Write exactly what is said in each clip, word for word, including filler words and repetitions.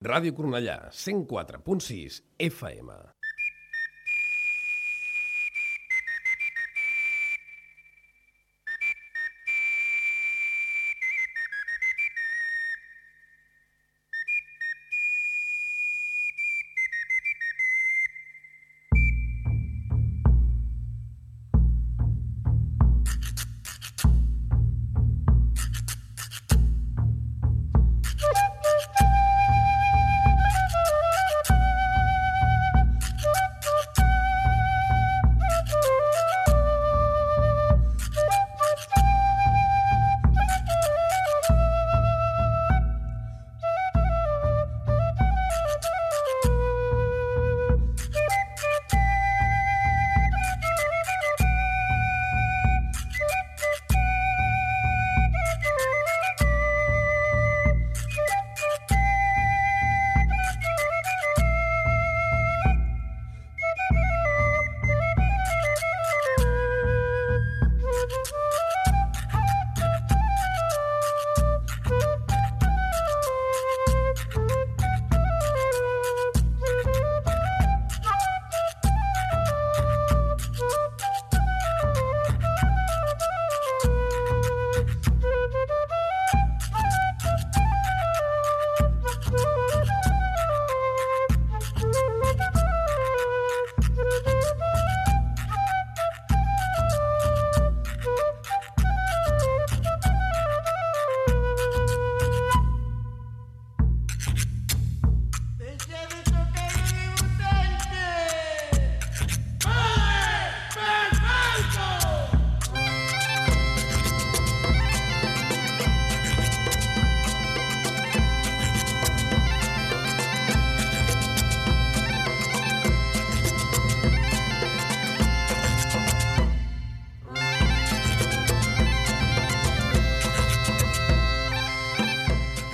Ràdio Cornellà, cent quatre punt sis F M.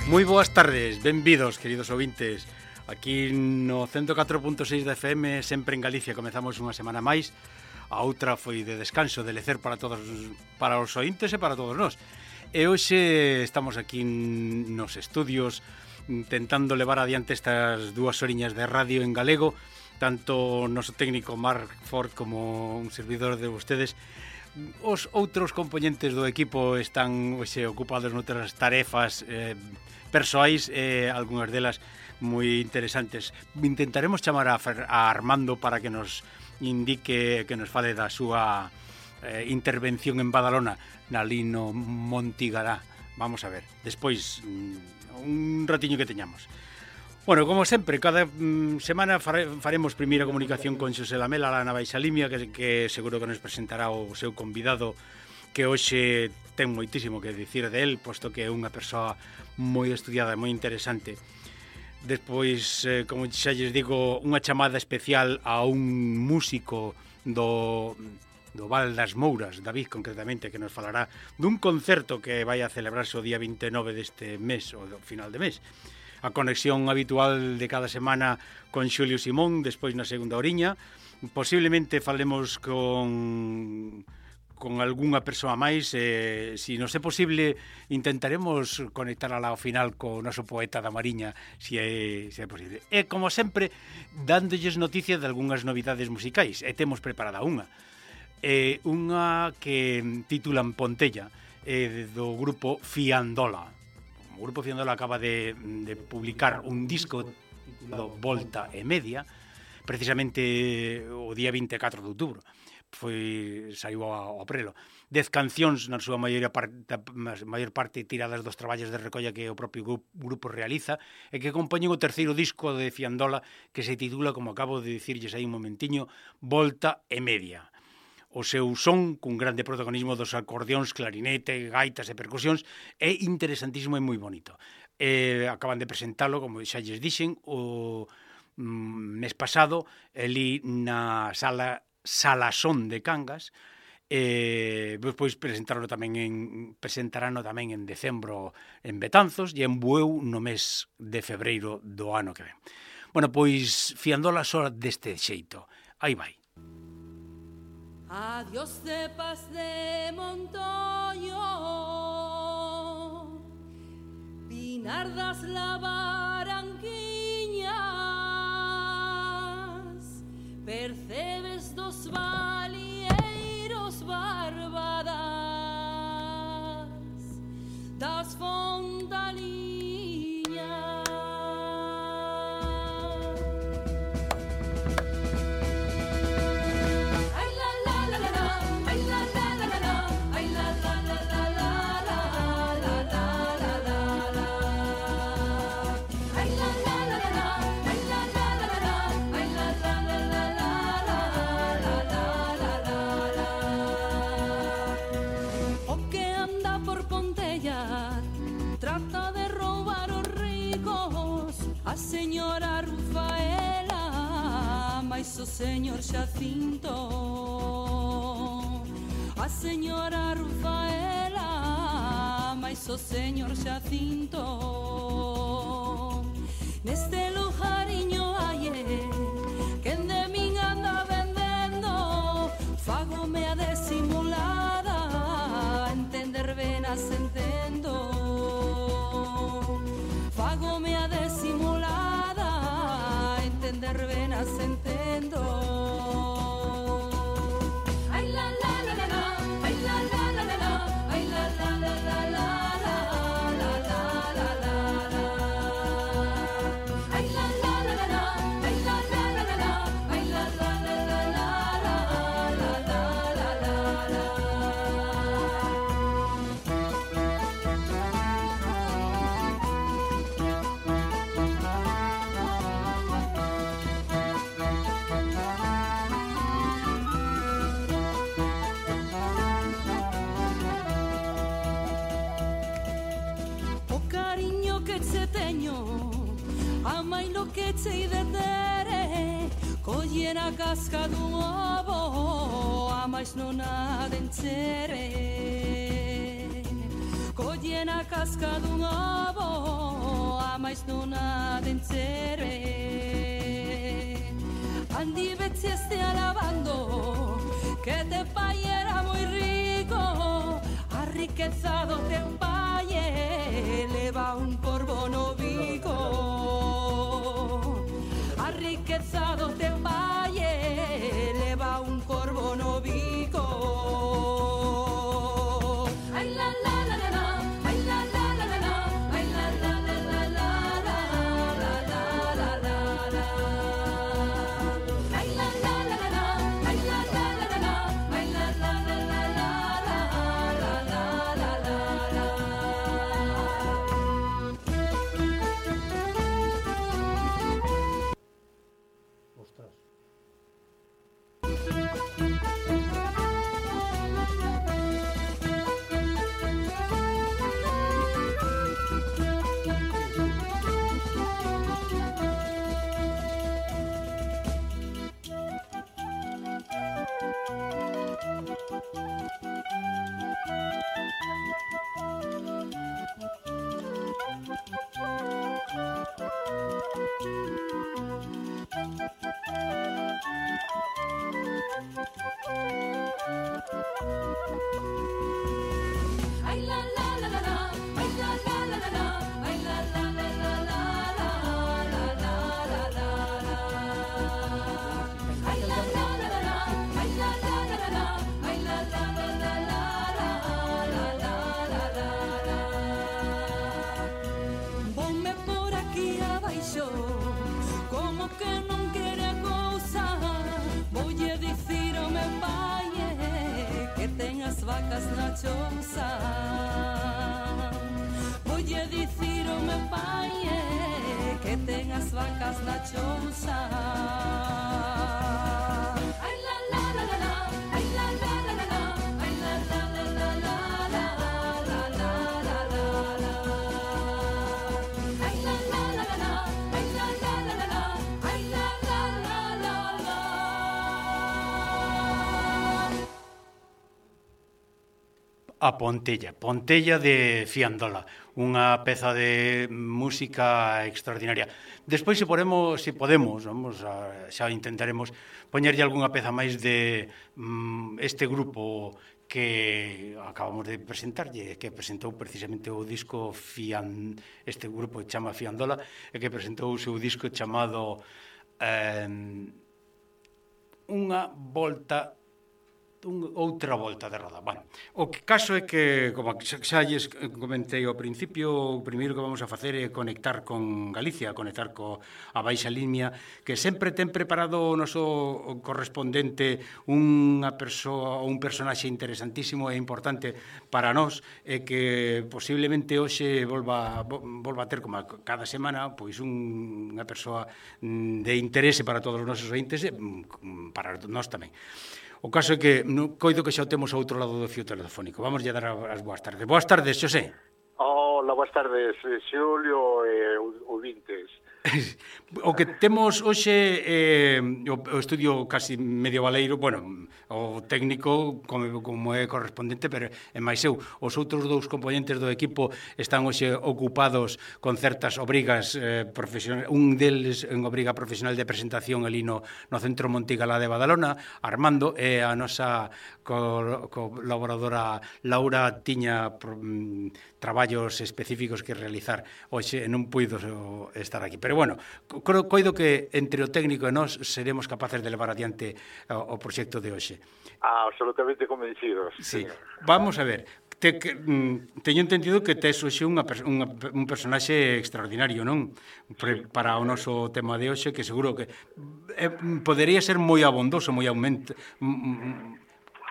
Moi boas tardes, benvidos, queridos ouvintes. Aquí no ciento catro punto seis da F M, sempre en Galicia, comezamos unha semana máis. A outra foi de descanso, de lecer para todos, para os ointes e para todos nós. E hoxe estamos aquí nos estudios intentando levar adiante estas dúas horiñas de radio en galego, tanto o noso técnico Marc Ford como un servidor de vostedes. Os outros componentes do equipo están hoxe ocupados noutras tarefas eh, persoais, e eh, algunhas delas moi interesantes. Intentaremos chamar a, Fer, a Armando para que nos indique, que nos fale da súa eh, intervención en Badalona, na Lino Montigará. Vamos a ver, despois un ratiño que teñamos. Bueno, como sempre, cada mm, semana fare, faremos primeira comunicación con Xosé Lamela, la nava Ixalimia, que, que seguro que nos presentará o seu convidado, que hoxe ten moitísimo que dicir de él, posto que é unha persoa moi estudiada, moi interesante. Despois, eh, como xa lles digo, unha chamada especial a un músico do, do Val das Mouras, David, concretamente, que nos falará dun concerto que vai a celebrarse o día vinte e nove deste mes, o do final de mes. A conexión habitual de cada semana con Xulio Simón, despois na segunda oriña. Posiblemente falemos con, con algunha persoa máis. Eh, se non é posible, intentaremos conectar ao final co noso poeta da Mariña, se é, se é posible. E, como sempre, dándolles noticias de algunhas novidades musicais. E temos preparada unha. Eh, unha que titulan Pontella, eh, do grupo Fiandola. O grupo Fiandola acaba de, de publicar un disco do Volta e Media, precisamente o día vinte e catro de outubro. Foi, saiu ao aprelo. Dez cancións, na súa maior parte, maior parte tiradas dos traballos de recolla que o propio grupo, grupo realiza, e que compoñen o terceiro disco de Fiandola, que se titula, como acabo de dicirlles aí un momentiño, Volta e Media. O seu son, cun grande protagonismo dos acordeóns, clarinete, gaitas e percusións, é interesantísimo e moi bonito. Eh, acaban de presentalo, como xa lles dixen, o mm, mes pasado, ali na sala Salasón de Cangas, e despois presentarono tamén en, presentarano tamén en decembro en Betanzos e en Bueu no mes de febreiro do ano que ven. Bueno, pois Fiandola só deste xeito. Aí vai. Adiós cepas de Montoño, Pinardas la Barranquilla, señora Rufaela, mais o señor Xacinto. A señora Rufaela, mais o señor Xacinto. Neste lujariño aie, quen de min anda vendendo, fagome a desimulada, entender venas entendo. Fagome a desimulada, entender venas entendo. Ay la la la la la, ay la la la la la, ay la la la la la la la la la la. Ay la la la la la, ay la la la la la, ay la la la la la la la la la la. O cariño que che teño, amai lo que che de tere, colle na casca dun ovo, amais non a denchere. Colle na casca dun ovo, amais non a denchere. Andi vezi este alabando, que te pai era moi rico, a riqueza do teu pai eleva un corvo no bico. A riqueza do teu pai eleva un corvo no bico. Ai la la la la la, ai la la la la la, ai la la la la la la la la la la la. Ai la la la la la, ai la la la la la, ai la la la la la la la la la la la. Ostras. Ay la la la la la, ay la la la la la, ay la la la la la la la la la la la. Ay la la la la la, ay la la la la la, ay la la la la la la la la la la. Ponme por aquí abaixo, como que non quere a cousa, voulle dicir ao meu pai que ten as vacas na chousa. Voulle dicir ao meu pai que ten as vacas na chousa. Ai la la la la la, ai la la la la la, ai la la la la la la la la la la la. Ai la la la la la, ai la la la la la, ai la la la la la. A Pontella, Pontella de Fiandola, unha peza de música extraordinaria. Despois, se podemos, se podemos, vamos a, xa intentaremos poñerlle algunha peza máis de mm, este grupo que acabamos de presentarlle, que presentou precisamente o disco Fian, este grupo que chama Fiandola, e que presentou o seu disco chamado eh, Unha volta un, outra volta de roda. Bueno, o que caso é que, como xa lles comentei ao principio, o primeiro que vamos a facer é conectar con Galicia, conectar co a Baixa Limia, que sempre ten preparado o noso correspondente unha persoa ou un personaxe interesantísimo e importante para nós, e que posiblemente hoxe volva, volva a ter, como cada semana, pois un, unha persoa de interese para todos os nosos ointes e para nós tamén. O caso é que no, coido que xa o temos ao outro lado do fío telefónico. Vamos a dar as boas tardes. Boas tardes, Xosé. Hola, boas tardes, Xulio e ouvintes. O que temos hoxe é eh, o, o estudio casi medievaleiro, bueno, o técnico como, como é correspondente, pero é máis eu. Os outros dous componentes do equipo están hoxe ocupados con certas obrigas eh, profesionales. Un deles en obriga profesional de presentación ali no, no Centro Montigalá de Badalona, Armando, e a nosa co, colaboradora Laura tiña mm, traballos específicos que realizar hoxe, non puido estar aquí. Pero bueno, co, coido que entre o técnico e nós seremos capaces de levar adiante o, o proxecto de hoxe. Ah, absolutamente convencidos. Sí. Vamos a ver, te, que, mm, teño entendido que tes hoxe unha, unha, un personaxe extraordinario, non? Pre, para o noso tema de hoxe, que seguro que eh, podería ser moi abondoso, moi aumento, mm,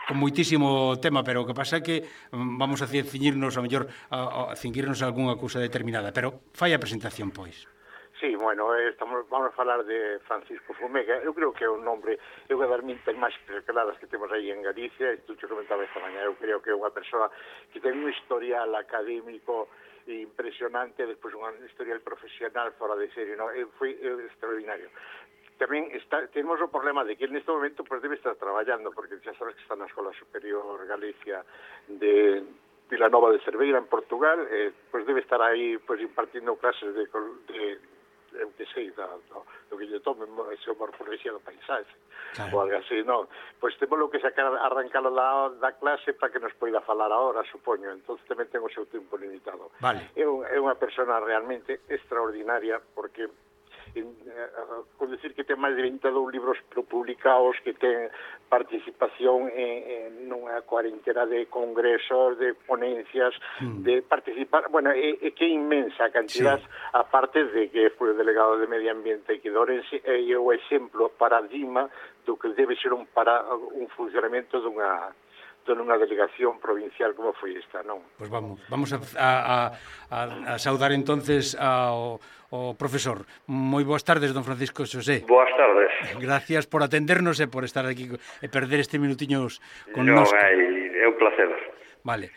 con moitísimo tema, pero o que pasa é que mm, vamos a ciñirnos, a mellor, a, a cinguirnos a algunha cousa determinada, pero fai a presentación, pois. Sí, bueno, estamos, vamos a falar de Francisco Fumega. Eu creo que é un nombre, eu vou dar mintas máis claras que temos aí en Galicia, e tú te comentaba esta mañá, eu creo que é unha persoa que ten un historial académico impresionante, despois un historial profesional fora de serie, no? Foi extraordinario. Tamén está, temos o problema de que neste momento pues, debe estar traballando, porque xa sabes que está na Escola Superior Galicia de Vilanova de Cerveira, en Portugal, eh, pues debe estar aí pues, impartindo clases de... de eu que sei, do, do, do que lle tome ese morfología do paisaxe, claro. Ou algo así, non? Pois temos lo que sacar, arrancalo da, da clase para que nos poida falar ahora, supoño, entón tamén ten o seu tempo limitado. Vale. É, é unha persona realmente extraordinaria, porque en, eh, con decir que ten máis de vinte e dous libros publicados, que ten participación en, en unha cuarentena de congresos, de ponencias, mm. de participar, bueno, é, é que é inmensa a cantidad, sí. Aparte de que foi o delegado de Medio Ambiente e que Dorense é o exemplo, paradigma do que debe ser un, para, un funcionamento dunha nunha delegación provincial como foi esta, non? Pois vamos, vamos a, a, a, a saudar entonces ao, ao profesor. Moi boas tardes, don Francisco Xosé. Boas tardes. Gracias por atendernos e por estar aquí e perder este minutiños con nos. Non, é un placer. Vale.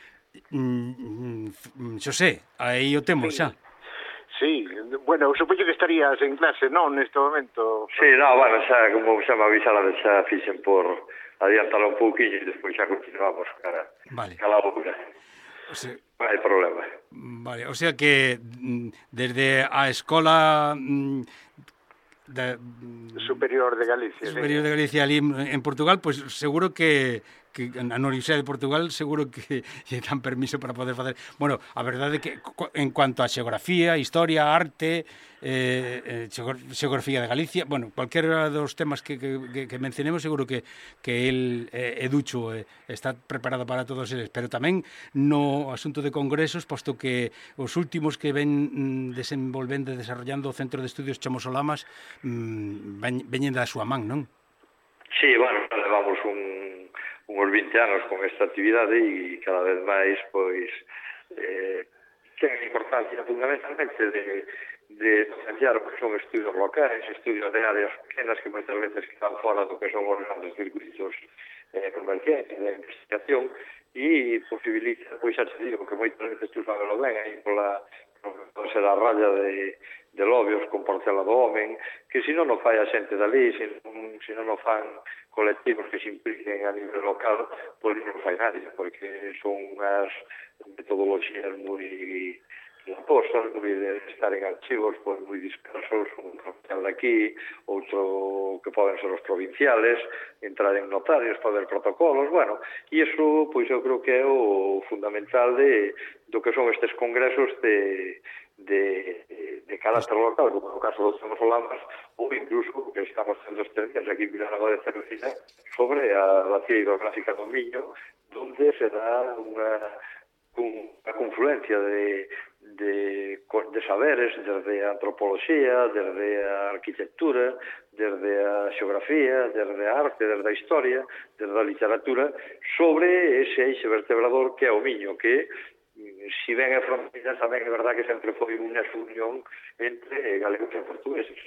Mm, Xosé, aí o temos xa. Sí, bueno, supoño que estarías en clase, non, neste momento? Sí, non, bueno, xa, como xa me avisaron, xa fixen por adiantalo un pouquinho e despois xa continuamos cara, vale. Cala boca. O sea, non hai problema. Vale, o sea que desde a escola de, superior de Galicia, superior de Galicia ali en Portugal, pues seguro que que na Universidade de Portugal seguro que lle dan permiso para poder facer. Bueno, a verdade é que en cuanto a xeografía, historia, arte, eh, xeografía de Galicia, bueno, cualquiera dos temas que, que, que mencionemos seguro que, que el eh, Educho eh, está preparado para todos eles, pero tamén no asunto de congresos, posto que os últimos que ven desenvolvendo e desarrollando o Centro de Estudios Chamosolamas mmm, veñen da súa man, non? Sí, bueno, levamos un uns vinte anos con esta actividade e cada vez máis, pois, eh, ten importancia fundamentalmente de, de potenciar o que son estudios locais, estudios de áreas pequenas que moitas veces quedan fora do que son os grandes circuitos eh, comerciais de investigación e posibilita, pois xa te digo, que moitas veces tú sabes lo ben, aí pola pode ser a raya de, de Lobios con Portela do Homen, que se non o fai a xente dali, se non, se non o fan colectivos que se impliquen a nivel local, pois non o fai nadie, porque son unhas metodoloxías moi impostas, moi de estar en archivos pois moi dispersos, un provincial de aquí, outro que poden ser os provinciales, entrar en notarios, poder protocolos, bueno, e iso, pois eu creo que é o fundamental de do que son estes congresos de de, de carácter local, como no caso dos Chamosolamas, ou incluso que estamos tendo estes días aquí en Vilanova de Cerveira sobre a bacia hidrográfica do Miño, donde se dá unha, unha confluencia de, de, de saberes desde a antropoloxía, desde a arquitectura, desde a xeografía, desde a arte, desde a historia, desde a literatura, sobre ese eixe vertebrador que é o Miño, que si ben é fronteira, tamén é verdad que sempre foi unha unión entre galegos e portugueses.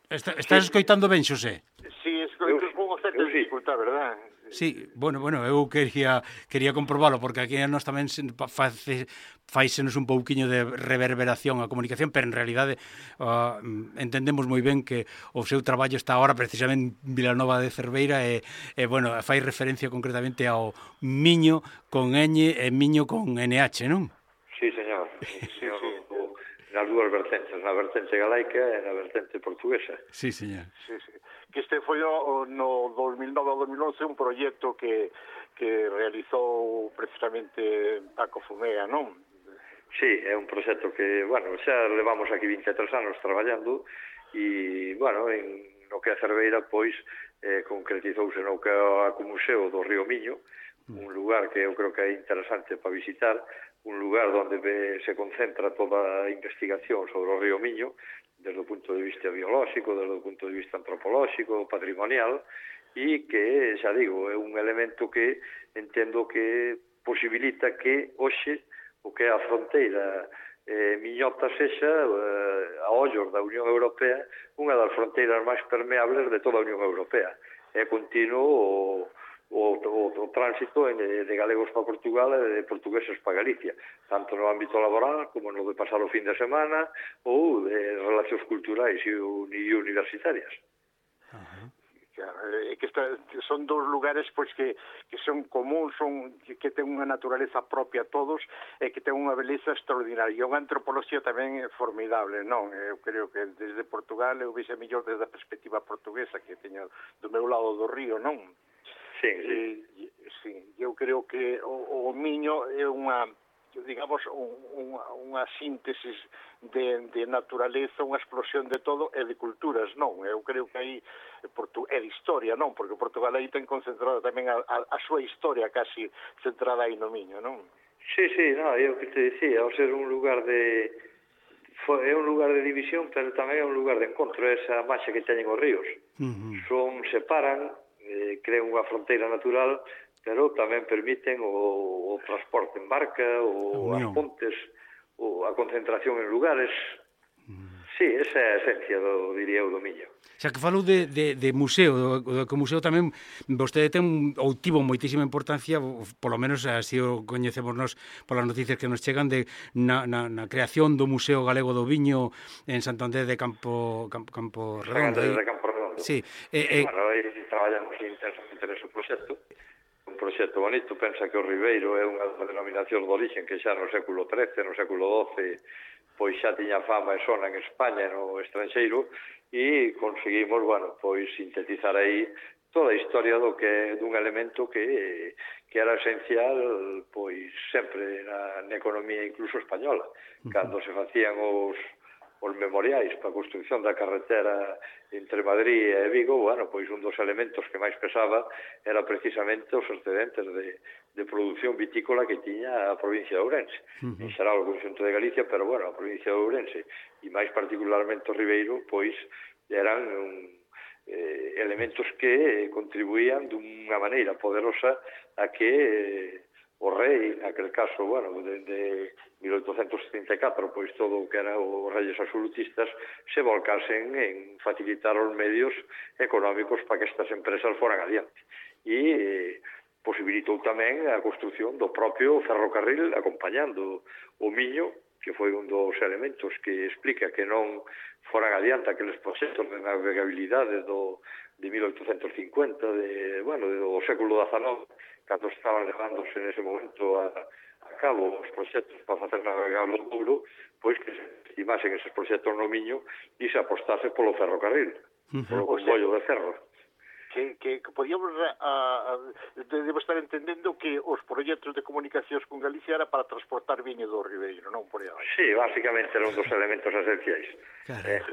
Está, estás escoitando ben, Xosé? Sí, escoito con unha certa dificultad, verdad? Sí, bueno, bueno, eu quería quería comprobalo porque aquí nós tamén face, faisenos un pouquiño de reverberación a comunicación, pero en realidade uh, entendemos moi ben que o seu traballo está agora precisamente en Vilanova de Cerveira e, e bueno, fai referencia concretamente ao Miño con ñ e Miño con ene hache, non? Sí, señor. Sí, señor. Sí, sí. Nas dúas vertentes, na vertente galaica e na vertente portuguesa. Sí, señor. Sí, sí. Que este foi no, no dos mil nove ao dos mil once un proxecto que, que realizou precisamente Paco Fumega, non? Sí, é un proxecto que, bueno, xa levamos aquí vinte e tres anos traballando e, bueno, en no que a Cerveira, pois, eh, concretizouse no que é o Museo do Río Miño, un lugar que eu creo que é interesante para visitar, un lugar onde se concentra toda a investigación sobre o Río Miño, desde o punto de vista biolóxico, desde o punto de vista antropolóxico, patrimonial, e que, xa digo, é un elemento que entendo que posibilita que hoxe o que é a fronteira eh, miñota sexa, eh, a ollos da Unión Europea, unha das fronteiras máis permeables de toda a Unión Europea. É continuo o O, o, o tránsito de, de galegos para Portugal e de portugueses para Galicia, tanto no ámbito laboral como no de pasar o fin de semana ou de relacións culturais e, e universitarias. Uh-huh. É que esta, son dous lugares pois que, que son comuns, son que, que ten unha naturaleza propia a todos e que ten unha beleza extraordinaria. E unha antropoloxía tamén formidable, non? Eu creo que desde Portugal eu vexe mellor desde a perspectiva portuguesa que teño do meu lado do río, non? Sí, sí. Eh, sí, eu creo que o, o Miño é unha, digamos, unha, unha síntesis de, de naturaleza, unha explosión de todo e de culturas, non? Eu creo que aí é de historia, non? Porque Portugal aí ten concentrada tamén a, a, a súa historia casi centrada aí no Miño, non? Sí, sí, no, eu que te dicía, ao ser un lugar de... é un lugar de división, pero tamén é un lugar de encontro, esa marcha que teñen os ríos. Uh-huh. Son, separan, eh, crean unha fronteira natural, pero tamén permiten o, o transporte en barca, o as pontes, o a concentración en lugares. Uh-huh. Sí, esa é a esencia, do, diría eu, do Miño. Xa que falou de, de, de museo, do, do museo tamén vostede ten ou tivo moitísima importancia, polo menos así o coñecemos nos polas noticias que nos chegan de na, na, na creación do Museo Galego do Viño en Santander de Campo Campo, Campo Redondo. Santander de Campo Redondo. Sí. Eh, eh, bueno, aí traballamos intensamente nese proxecto. Un proxecto bonito, pensa que o Ribeiro é unha denominación de origen que xa no século trece, no século doce, pois xa tiña fama e sona en España e no estranxeiro, e conseguimos, bueno, pois sintetizar aí toda a historia do que dun elemento que que era esencial, pois sempre na, na economía incluso española. Cando se facían os os memoriais para a construcción da carretera entre Madrid e Vigo, bueno, pois un dos elementos que máis pesaba era precisamente os excedentes de, de produción vitícola que tiña a provincia de Ourense. Uh-huh. En xeral o conxunto de Galicia, pero, bueno, a provincia de Ourense e máis particularmente o Ribeiro, pois eran un, eh, elementos que contribuían dunha maneira poderosa a que eh, o rei, naquele caso, bueno, de mil oitocentos setenta e catro, pois todo o que eran os reyes absolutistas se volcasen en facilitar os medios económicos para que estas empresas foran adiante. E eh, posibilitou tamén a construción do propio ferrocarril acompañando o Miño, que foi un dos elementos que explica que non foran adiante aqueles proxectos de navegabilidade do, de mil oitocentos cincuenta, de, bueno, do século dezanove, cando estaban levándose nese momento a, a cabo os proxectos para facer navegable o Douro, pois que se estimasen eses proxectos no Miño e se apostase polo ferrocarril, uh-huh. polo comboio de ferro. Que, que, que podíamos a, a, debo estar entendendo que os proxectos de comunicacións con Galicia era para transportar viño do Ribeiro, non por aí. Sí, basicamente era un dos elementos esenciais. Claro. Eh,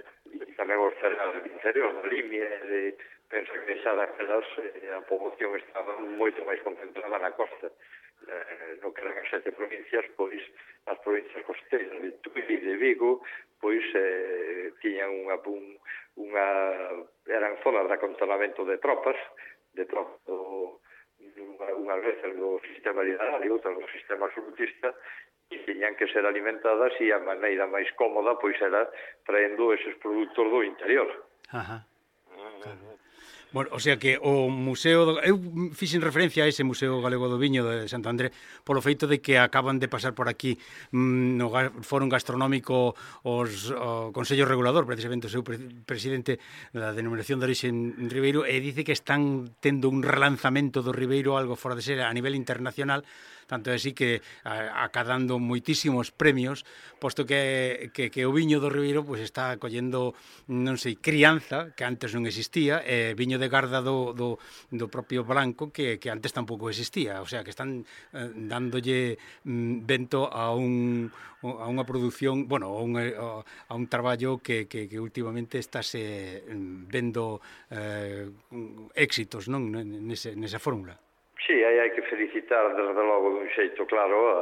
e tamén os cereais do interior, da Limia, de, pensa que xa daquelas eh, a poboación estaba moito máis concentrada na costa. Eh, no que eran as sete provincias, pois as provincias costeiras de Tui e de Vigo, pois eh, tiñan unha, un, unha eran zonas de acantonamento de tropas, de tropas do, unha, unhas veces do sistema literario, outras do sistema absolutista, e tiñan que ser alimentadas e a maneira máis cómoda pois era traendo eses produtos do interior. Ajá. Claro. Bueno, o sea que o Museo... Do... Eu fixen referencia a ese Museo Galego do Viño de Santo André polo feito de que acaban de pasar por aquí mmm, no Fórum Gastronómico os, o Consello Regulador, precisamente o seu pre presidente da denominación de orixe en Ribeiro, e dice que están tendo un relanzamento do Ribeiro algo fora de ser a nivel internacional, tanto é así que a, acadando moitísimos premios, posto que, que, que o viño do Ribeiro pues, está collendo, non sei, crianza, que antes non existía, e viño de garda do, do, do propio branco, que, que antes tampouco existía. O sea, que están eh, dándolle mm, vento a un a unha produción, bueno, a un, a un traballo que, que, que últimamente estáse vendo eh, éxitos, non, nese, nesa fórmula. Sí, aí hai que felicitar desde logo dun xeito claro a,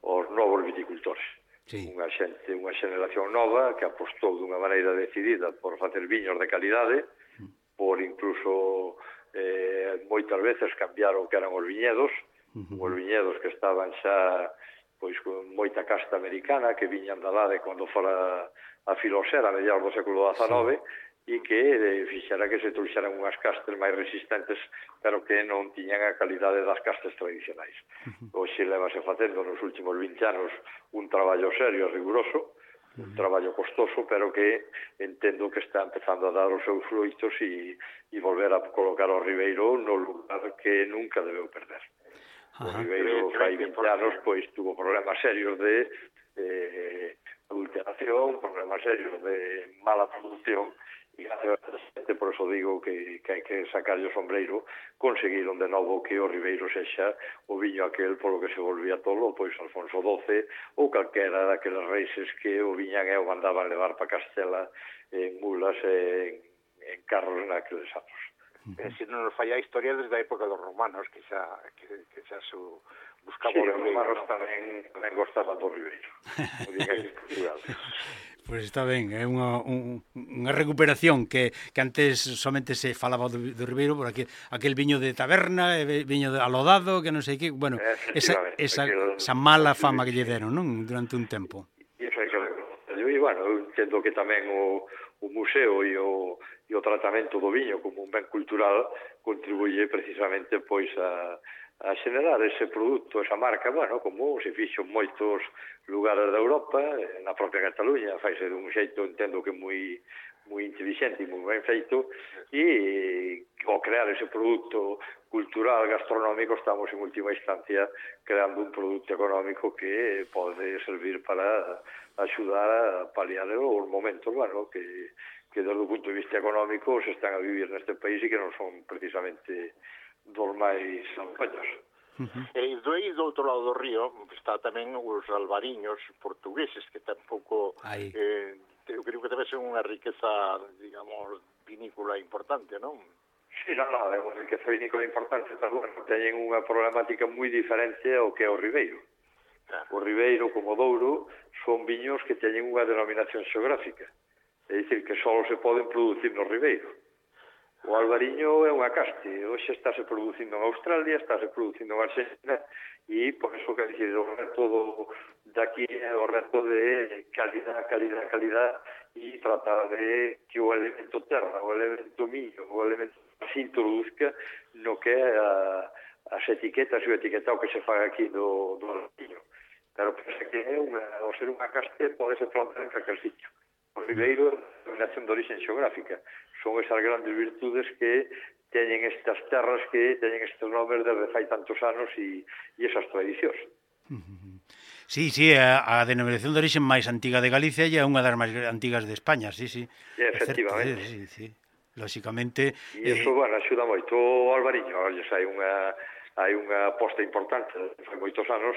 aos novos viticultores. Sí. Unha xente, unha xeneración nova que apostou dunha maneira decidida por facer viños de calidade, mm. por incluso eh, moitas veces cambiar o que eran os viñedos, uh-huh. os viñedos que estaban xa pois con moita casta americana que viñan da lá de cando fora a Filosera a mediados do século dezanove, sí. e que eh, fixera que se trouxeran unhas castas máis resistentes, pero que non tiñan a calidade das castas tradicionais. Uh-huh. Hoxe levase facendo nos últimos vinte anos un traballo serio e riguroso, uh-huh. un traballo costoso, pero que entendo que está empezando a dar os seus fruitos e, e volver a colocar o Ribeiro no lugar que nunca debeu perder. O Ribeiro fai vinte anos pois tuvo problemas serios de eh, adulteración, problemas serios de mala producción, e por eso digo que, que hai que sacar o sombreiro. Conseguiron de novo que o Ribeiro sexa o viño aquel polo que se volvía todo, pois Alfonso doce ou calquera daqueles reises que o viñan e o mandaban levar para Castela en mulas e en, en carros naqueles anos. Uh-huh. Se non nos falla a historia desde a época dos romanos, que xa, que, que xa su buscaba sí, o Ribeiro. Os romanos ¿no? tamén, tamén gostaban do Ribeiro. Pois pues está ben, é unha, un, unha recuperación que, que antes somente se falaba do, do Ribeiro por aquí, aquel viño de taberna, viño de alodado, que non sei que, bueno, esa, esa, esa mala fama que lle deron, non? Durante un tempo. E iso é que e, bueno, eu entendo que tamén o, o museo e o, e o tratamento do viño como un ben cultural contribuye precisamente pois a a xenerar ese produto, esa marca, bueno, como se fixo en moitos lugares da Europa, na propia Cataluña, faise dun xeito, entendo que moi moi intelixente e moi ben feito, e ao crear ese produto cultural, gastronómico, estamos en última instancia creando un produto económico que pode servir para axudar a paliar os momentos, bueno, que, que desde o punto de vista económico se están a vivir neste país e que non son precisamente dos máis ampaños. Uh-huh. E do aí do outro lado do río está tamén os albariños portugueses, que tampouco eh, eu creo que debe ser unha riqueza, digamos, vinícola importante, non? Sí, non, non, é unha riqueza vinícola importante, pero bueno, teñen unha problemática moi diferente ao que é o Ribeiro. Claro. O Ribeiro, como o Douro, son viños que teñen unha denominación xeográfica, é dicir, que só se poden producir no Ribeiro. O albariño é unha caste, hoxe estáse producindo en Australia, estáse producindo en Argentina, e por eso que decir, o reto do, daqui é o reto de calidad, calidad, calidad, e tratar de que o elemento terra, o elemento millo, o elemento se introduzca no que é a, as etiquetas e o etiquetado que se faga aquí do, do albariño. Pero pensa que é unha, ao ser unha caste pode ser plantar en calquer sitio. O Ribeiro é a denominación de origen xeográfica. Son esas grandes virtudes que teñen estas terras que teñen estes nomes desde fai tantos anos e, e esas tradicións. Sí, sí, a, a denominación de origen máis antiga de Galicia e é unha das máis antigas de España, sí, sí. E, efectivamente. Certo, sí, sí. Lóxicamente... E iso, eh... bueno, axuda moito o albariño. Olles, hai unha, hai unha aposta importante, fai moitos anos,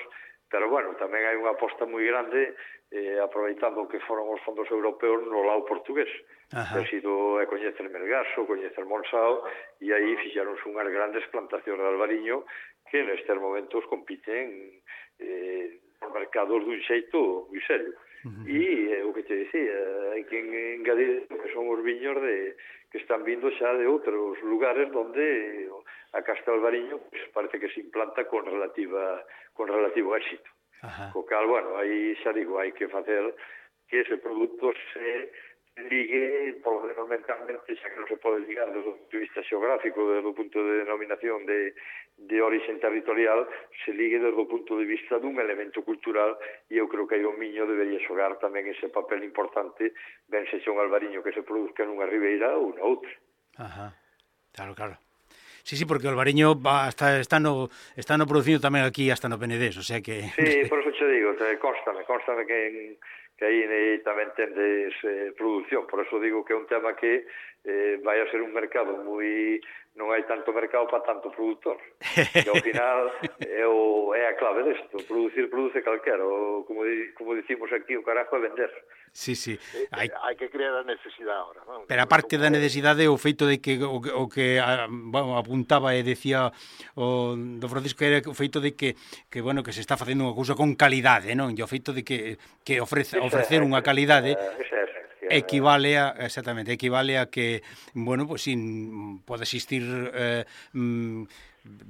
pero, bueno, tamén hai unha aposta moi grande eh, aproveitando que foron os fondos europeos no lado portugués. Ajá. Que ha sido é coñecer Melgaso, coñecer Monsao, e aí fixaronse unhas grandes plantacións de albariño que nestes momentos compiten eh, nos mercados dun xeito moi serio. Uh-huh. E é o que te dicía, hai que engadir que son os viños de, que están vindo xa de outros lugares onde a casta albariño pues, parece que se implanta con relativa con relativo éxito. Ajá. Co cal, bueno, aí xa digo, hai que facer que ese produto se ligue polo fundamentalmente, xa que non se pode ligar desde o punto de vista xeográfico, desde o punto de denominación de, de orixen territorial, se ligue desde o punto de vista dun elemento cultural, e eu creo que aí o Miño debería xogar tamén ese papel importante, ben sexa un albariño que se produzca nunha ribeira ou na outra. Ajá, claro, claro. Sí, sí, porque o albariño va hasta, está, no, está no producindo tamén aquí hasta no Penedés, o sea que... Sí, por eso che digo, te constame, constame que en... que aí tamén tendes eh, produción, por eso digo que é un tema que eh, vai a ser un mercado moi... non hai tanto mercado para tanto produtor, que ao final é, o, é a clave desto, producir produce calquera, o, como, di, como dicimos aquí, o carajo é vender. Sí, sí. Hai, hai que crear a necesidade ahora, non? Pero a parte da necesidade, o feito de que o, o que a, bueno, apuntaba e decía o do Francisco era o feito de que que bueno, que se está facendo unha cousa con calidade, non? E o feito de que que ofrece ofrecer unha calidade equivale a exactamente, equivale a que bueno, pues sin pode existir eh, mm,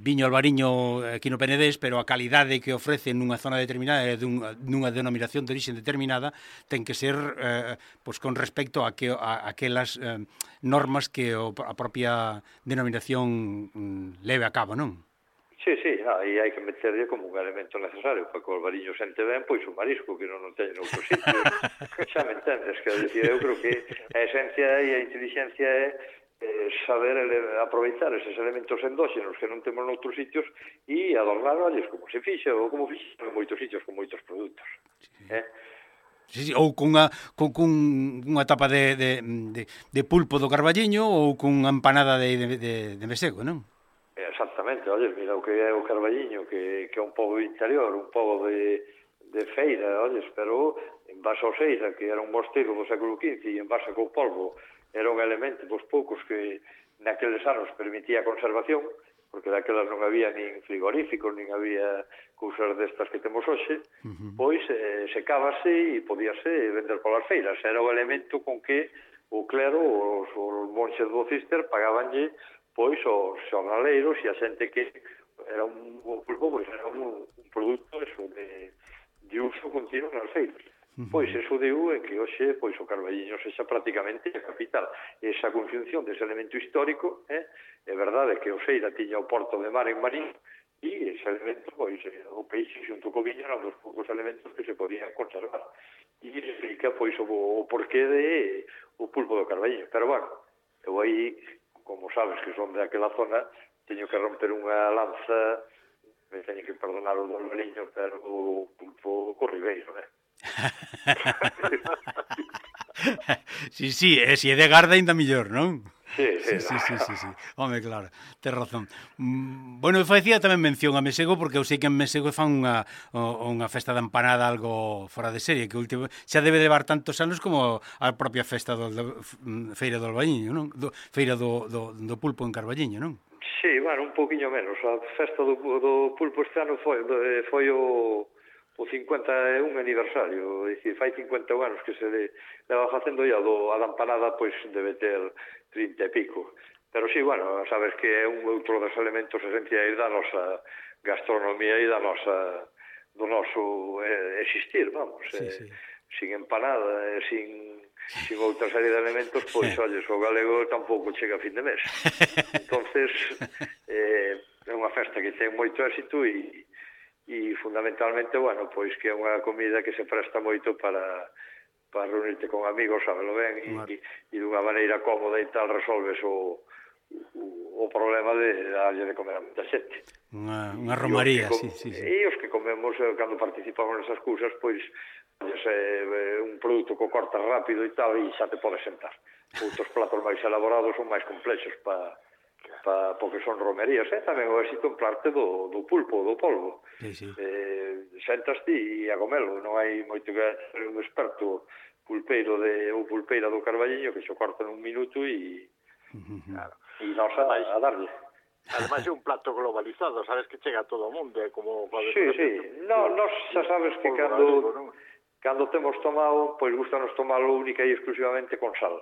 viño albariño aquí no Penedés, pero a calidade que ofrece nunha zona determinada e dun, nunha denominación de origen determinada ten que ser eh, pues con respecto a, que, a, a aquelas eh, normas que o, a propia denominación mm, leve a cabo, non? Sí, sí, aí hai que meterlle como un elemento necesario para que o albariño sente ben, pois o marisco, que non non teñen outro sitio. Xa me entendes, que decir, eu creo que a esencia e a inteligencia é eh, saber ele, aproveitar eses elementos endóxenos que non temos noutros sitios e adornarolles como se fixe ou como fixe en moitos sitios con moitos produtos. Sí. Eh? Sí, sí, ou cunha, con, con unha tapa de, de, de, de pulpo do Carballiño ou cunha empanada de, de, de, de mesego, non? Exactamente, olles, mira o que é o Carballiño, que, que é un pobo interior, un pobo de, de feira, olles, pero en base ao Seira, que era un mosteiro do século quince, e en base co polvo era un elemento dos poucos que naqueles anos permitía a conservación, porque daquelas non había nin frigoríficos, nin había cousas destas que temos hoxe, uh-huh. pois eh, secábase e podíase vender polas feiras. Era o elemento con que o clero, os, os monxes do Cister, pagabanlle pois os xornaleiros e a xente que era un, un pulpo, pois era un, un produto eso, de, de uso continuo nas feiras. Uh-huh. Pois eso deu en que hoxe pois o Carballiño sexa prácticamente a capital. Esa conxunción dese elemento histórico, eh, é verdade que o Seira tiña o porto de mar en Marín e ese elemento, pois, o peixe xunto co viño eran dos poucos elementos que se podían conservar. E explica, pois, o, o porqué de o pulpo do Carballiño. Pero, bueno, eu aí, como sabes que son de aquela zona, teño que romper unha lanza, me teño que perdonar o do albariño, pero o pulpo co ribeiro, eh? Sí, sí, e se é de Garda ainda mellor, non? Sí, sí, sí, sí, sí, sí. Home, claro, tes razón. Mm, bueno, eu facía tamén mención a Mesego porque eu sei que en Mesego fan unha, unha festa de empanada algo fora de serie, que último, xa debe levar tantos anos como a propia festa do, do Feira do Albariño, non? Do, feira do, do, do Pulpo en Carballiño, non? Sí, bueno, un poquinho menos. A festa do, do Pulpo este ano foi, foi o... o cincuenta e un aniversario, é dicir, fai cincuenta anos que se le, leva facendo ya do, a da empanada, pois debe ter trinta e pico. Pero sí, bueno, sabes que é un outro dos elementos esenciais da nosa gastronomía e da nosa, do noso eh, existir, vamos. Sí, eh, sí. Sin empanada e sin, sin outra serie de elementos, pois, olles, o galego tampouco chega a fin de mes. Entonces, eh, é unha festa que ten moito éxito e e fundamentalmente, bueno, pois que é unha comida que se presta moito para para reunirte con amigos, sabelo ben, e, e dunha maneira cómoda e tal resolves o, o, o problema de darlle de comer a moita xente. Unha, unha romaría, sí, sí, sí. E os que comemos, cando participamos nesas cousas, pois, é un produto que cortas rápido e tal, e xa te podes sentar. Outros platos máis elaborados son máis complexos para pa, porque son romerías, eh? Tamén o éxito en parte do, do pulpo, do polvo. Sí, sí. Eh, sentas ti e a comelo, non hai moito que ser un experto pulpeiro de, ou pulpeira do Carballiño que xo corta nun minuto e uh-huh. claro, e nos a, a darlle. Ademais é un plato globalizado, sabes que chega a todo o mundo, é como... Sí, sí, no, nos xa sabes que cando, cando temos tomado, pois gustanos tomalo única e exclusivamente con sal.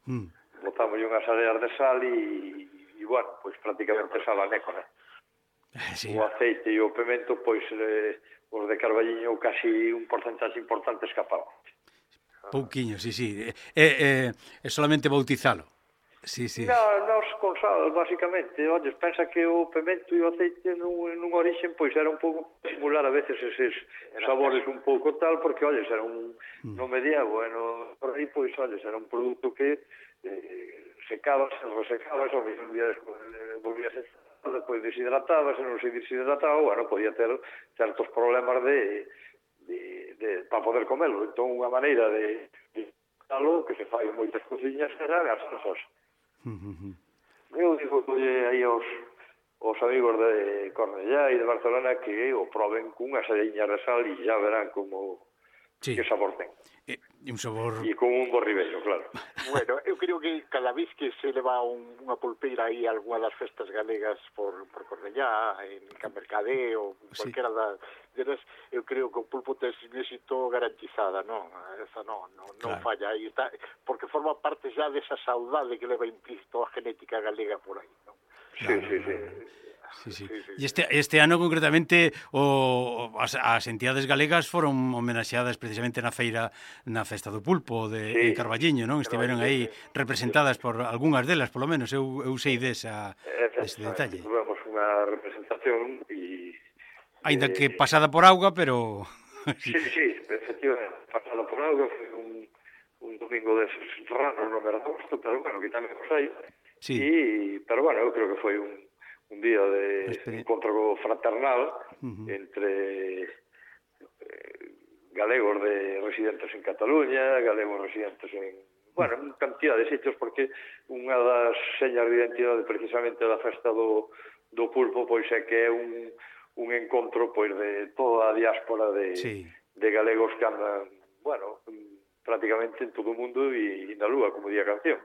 Mm. Botamos unhas areas de sal e e, bueno, pois prácticamente sal a nécora. Sí. O aceite e o pimento, pois, eh, os de Carballiño casi un porcentaxe importante escapamos. Pouquiño, sí, sí. É, é, é solamente bautizalo. Sí, sí. No, nos con sal, basicamente, olles, pensa que o pemento e o aceite nun, nun origen, pois era un pouco simular a veces eses sabores un pouco tal, porque, olles, era un, mm. no medievo, e no, por aí, pois, olles, era un produto que eh, secaba, se resecaba, o mismo día despois, eh, volvía a ser, despois deshidrataba, se non se deshidrataba, bueno, podía ter certos problemas de, de, de para poder comelo. Entón, unha maneira de, de algo que se fai en moitas cociñas era as salsas. Uh-huh. Eu digo que aí aos, aos amigos de Cornellá e de Barcelona que o proben cunha saliña de sal e xa verán como sí. Que sabor ten. E, e un sabor... E con un borribello, claro. Bueno, eu creo que cada vez que se leva un, unha pulpeira aí a algunha das festas galegas por, por Cornellá, en Cambercadé ou cualquiera sí. das delas, eu creo que o pulpo ten éxito garantizada, non? Esa non, non, non claro. Falla aí, está, porque forma parte xa desa saudade que leva implícito a genética galega por aí, non? Sí, claro. sí, sí. Sí, sí. Sí, sí. E este, este ano concretamente o, as, as entidades galegas foron homenaxeadas precisamente na feira, na Festa do Pulpo de sí. Carballiño, non? Estiveron aí representadas por algunhas delas, polo menos, eu, eu sei desa, dese detalle. Tuvemos unha representación e... Ainda eh, que pasada por auga, pero... sí, sí, efectivamente, pasada por auga, foi un, un domingo deses raros no mes de agosto, pero bueno, que tamén os hai. Sí. E, pero bueno, eu creo que foi un un día de Esperi... encontro fraternal uh-huh. entre eh, galegos de residentes en Cataluña, galegos residentes en, bueno, en cantidad de sitios, porque unha das señas de identidade precisamente da festa do, do pulpo, pois é que é un, un encontro pois de toda a diáspora de, sí. de galegos que andan, bueno, prácticamente en todo o mundo e, e na lúa, como di a canción.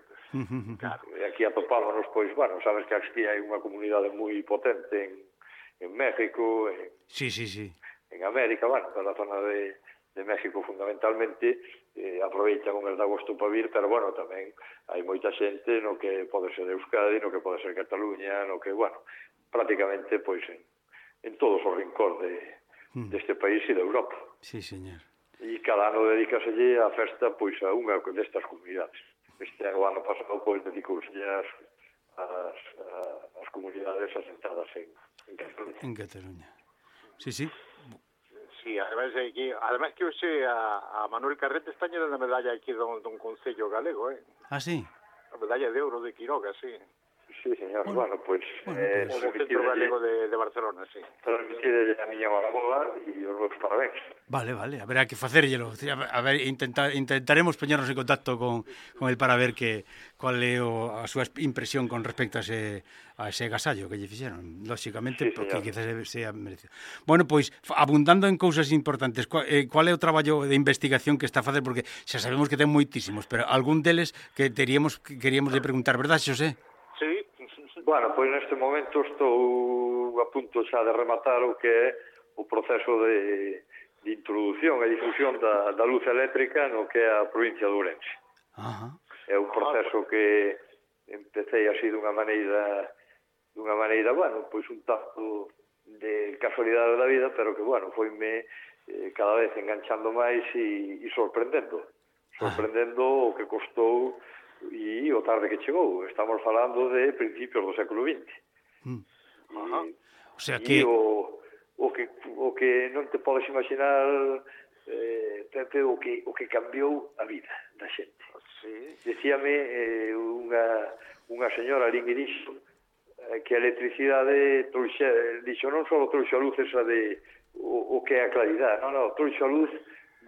Claro, e aquí atopámonos, pois, bueno, sabes que aquí hai unha comunidade moi potente en, en México, en, sí, sí, sí. en América, bueno, na zona de, de México fundamentalmente, eh, aproveitan o mes de agosto para vir, pero, bueno, tamén hai moita xente no que pode ser Euskadi, no que pode ser Cataluña, no que, bueno, prácticamente, pois, en, en todos os rincóns de, mm. deste país e de Europa. Sí, señor. E cada ano dedícaselle a festa, pois, a unha destas comunidades. Este ano, ano pasado, pois, dedicouse as, as, as comunidades asentadas en, en Cataluña. En Cataluña. Sí, sí. Sí, además, que, además que hoxe a, a Manuel Carrete está llena de medalla aquí dun, dun concello galego, eh? Ah, sí? A medalla de ouro de Quiroga, sí. Sí, señor. Bueno, bueno pues... Bueno, eh, pues o Centro Galego de, de Barcelona, sí. Transmitirle a miña Marabola e os meus parabéns. Vale, vale, haberá que facerllelo. A ver, intentar, intentaremos poñernos en contacto con, con el para ver que cual é o, a súa impresión con respecto a ese, a ese agasallo que lle fixeron. Lóxicamente, sí, porque quizás sea merecido. Bueno, pois, abundando en cousas importantes, cual, eh, cual é o traballo de investigación que está a facer? Porque xa sabemos que ten moitísimos, pero algún deles que teríamos, que queríamos de preguntar, verdad, Xosé? Sí. Bueno, pois neste momento estou a punto xa de rematar o que é o proceso de, de introducción e difusión da, da luz eléctrica no que é a provincia de Ourense. Ajá. É un proceso que empecé así dunha maneira, dunha maneira, bueno, pois un tanto de casualidade da vida, pero que, bueno, foime eh, cada vez enganchando máis e, e sorprendendo. Sorprendendo o que costou e o tarde que chegou. Estamos falando de principios do século vinte. Mm. E, o sea que... e o, o, que, o que non te podes imaginar eh, Pepe, o que, o que cambiou a vida da xente. Sí. Decíame eh, unha, unha señora ali que dixo eh, que a electricidade trouxe, dixo, non só trouxe a luz esa de o, o que é a claridade, non, non, trouxe a luz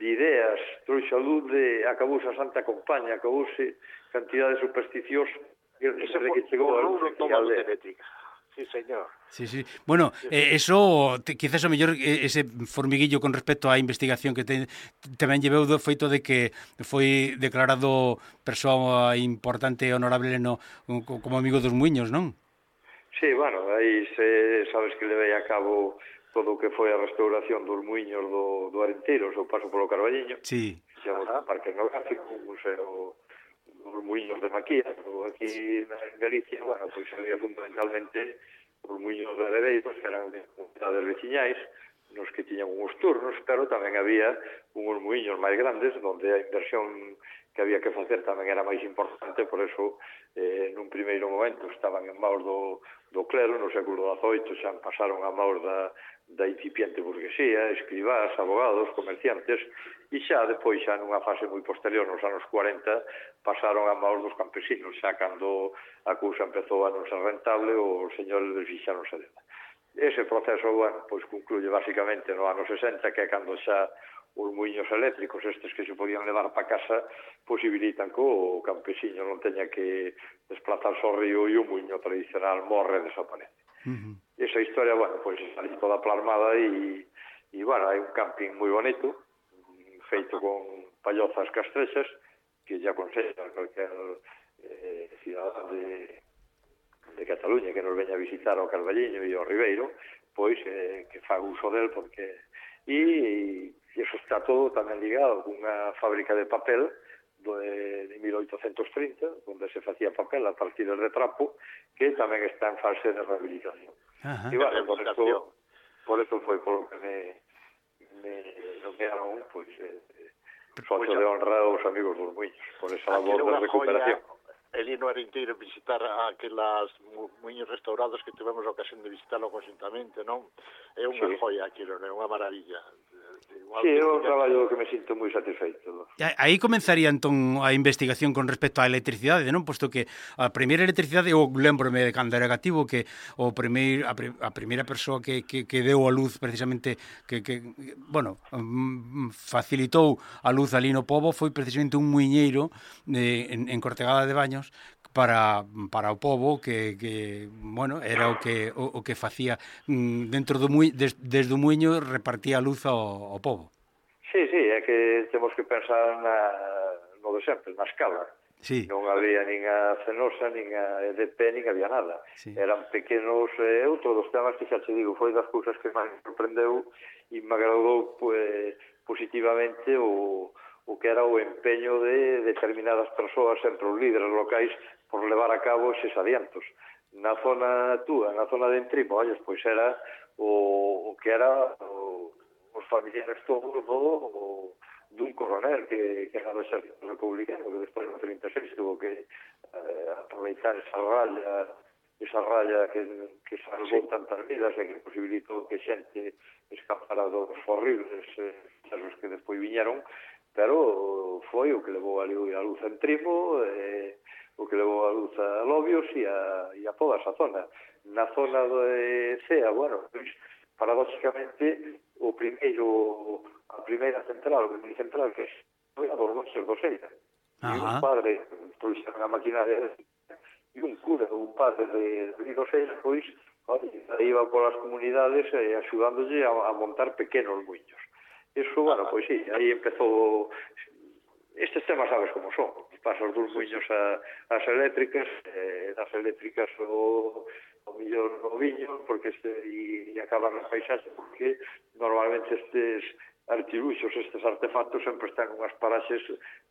de ideas, trouxe a luz de acabouse a Santa Compaña, acabouse cantidad de supersticios desde que chegou a luz eléctrica. Sí, señor. Sí, sí. Bueno, eh, eso, te, quizás o mellor ese formiguillo con respecto á investigación que te, tamén lleveu do feito de que foi declarado persoa importante e honorable no, como amigo dos muiños, non? Sí, bueno, aí se, sabes que levei a cabo todo o que foi a restauración dos muiños do, do Arenteiro, o paso polo Carballiño. Sí. Chama o Parque Etnográfico, un museo dos muiños de Maquía, pero aquí en Galicia, bueno, pois había fundamentalmente os muiños de Aredeiros, que eran de comunidades veciñais, nos que tiñan uns turnos, pero tamén había uns muiños máis grandes onde a inversión que había que facer tamén era máis importante, por eso eh, nun primeiro momento estaban en maus do, do clero, no século dezoito xa pasaron a maus da, da incipiente burguesía, escribás, abogados, comerciantes, e xa depois, xa nunha fase moi posterior, nos anos cuarenta, pasaron a maus dos campesinos, xa cando a cousa empezou a non ser rentable, os señores desfixáronse dela. Ese proceso, bueno, pois concluye basicamente no ano sesenta, que é cando xa os muiños eléctricos, estes que se podían levar para casa, posibilitan que o campesiño non teña que desplazarse ao río e o muiño tradicional morre e desaparece. Uh-huh. Esa historia, bueno, pois está ali toda plasmada e, e, bueno, hai un camping moi bonito, feito con pallozas castrexas, que ya aconsello a cualquier eh, cidadán de de Cataluña que nos veña a visitar ao Carballiño e ao Ribeiro, pois eh, que faga uso del, porque e, e iso está todo tamén ligado cunha fábrica de papel de, de mil oitocentos trinta, onde se facía papel a partir de trapo, que tamén está en fase de rehabilitación. Ajá. E, bueno, por eso, por eso foi por lo que me, me nomearon, pois, eh, socio de honra aos amigos dos muiños, por esa labor de recuperación. Joya. El ir no Arenteiro visitar aquelas muiños restaurados que tivemos a ocasión de visitarlo conjuntamente, non? É unha sí. joia aquilo, é unha maravilla. Sí, é un traballo que me sinto moi satisfeito. Aí comenzaría entón a investigación con respecto á electricidade, non? Posto que a primeira electricidade, eu lembrome de cando era gativo, que o primeiro, a, a primeira persoa que, que, que deu a luz precisamente, que, que bueno, facilitou a luz ali no pobo, foi precisamente un muiñeiro de, en, en Cortegada de Baños, para para o pobo que, que bueno, era o que o, o que facía dentro do muiño, des, desde o muiño repartía a luz ao, ao pobo. Sí, sí, é que temos que pensar na, no de sempre, na escala. Sí. Non había nin a Cenosa, nin a E D P, nin había nada. Sí. Eran pequenos, eh, outro dos temas que xa te digo, foi das cousas que máis me sorprendeu e me agradou pues, positivamente o o que era o empeño de determinadas persoas, sempre os líderes locais, por levar a cabo eses adiantos. Na zona túa, na zona de Entrimo, olles, pois era o, o que era o, os familiares todos do, o, dun coronel que, que era do exército republicano, que despois no trinta e seis tuvo que eh, aproveitar esa raya, esa raya que, que salvou sí. tantas vidas e que posibilitou que xente escapara dos horribles eh, casos que despois viñeron, pero foi o que levou a luz a Entrimo, eh, o que levou a luz a Lobios e a, e a toda esa zona. Na zona de Cea, bueno, pois, paradóxicamente, o primeiro, a primeira central, o primeiro central que foi a dos Montes do Seira. E un padre, pois, a maquinaria, e un cura, un padre de, de do Seira, pois, iba polas comunidades eh, axudándolle a, a montar pequenos muiños. Eso, bueno, pois sí, aí empezou... Estes temas sabes como son. Pasas dos muiños a, as eléctricas, eh, das eléctricas o, o millón o viño, porque este, e, e acaban as paisaxes, porque normalmente estes artiluxos, estes artefactos, sempre están unhas paraxes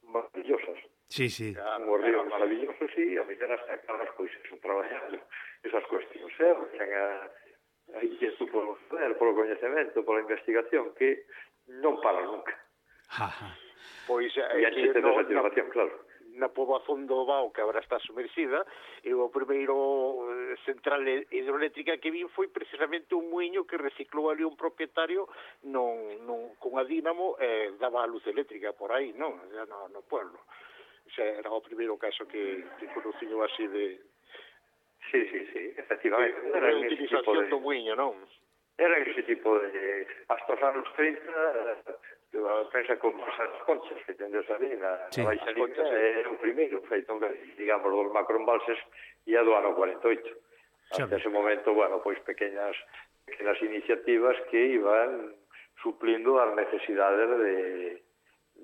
maravillosas. Sí, sí. Unhos ríos maravillosos e a mellor hasta acabas, pois, eso, traballando esas cuestións. Eh? A, a inquietud polo saber, polo coñecemento, pola investigación, que non para nunca. Ajá. Pois e a xente de satisfacción, claro. Na poboación do Bao, que agora está sumerxida, e o primeiro central hidroeléctrica que vin foi precisamente un muiño que reciclou ali un propietario non, non, con a dínamo e eh, daba a luz eléctrica por aí, non? No, no pueblo. O sea, era o primeiro caso que, que conociño así de... Sí, sí, sí, efectivamente. Era a utilización do muiño, non? Era ese tipo de... Hasta os anos trinta, pensa como as conchas que tendes ali na, sí. na Baixa Liga, é o primeiro feito, digamos, dos macroembalses e a do ano cuarenta e oito. Hasta ese momento, bueno, pois pequeñas, pequeñas iniciativas que iban suplindo as necesidades de,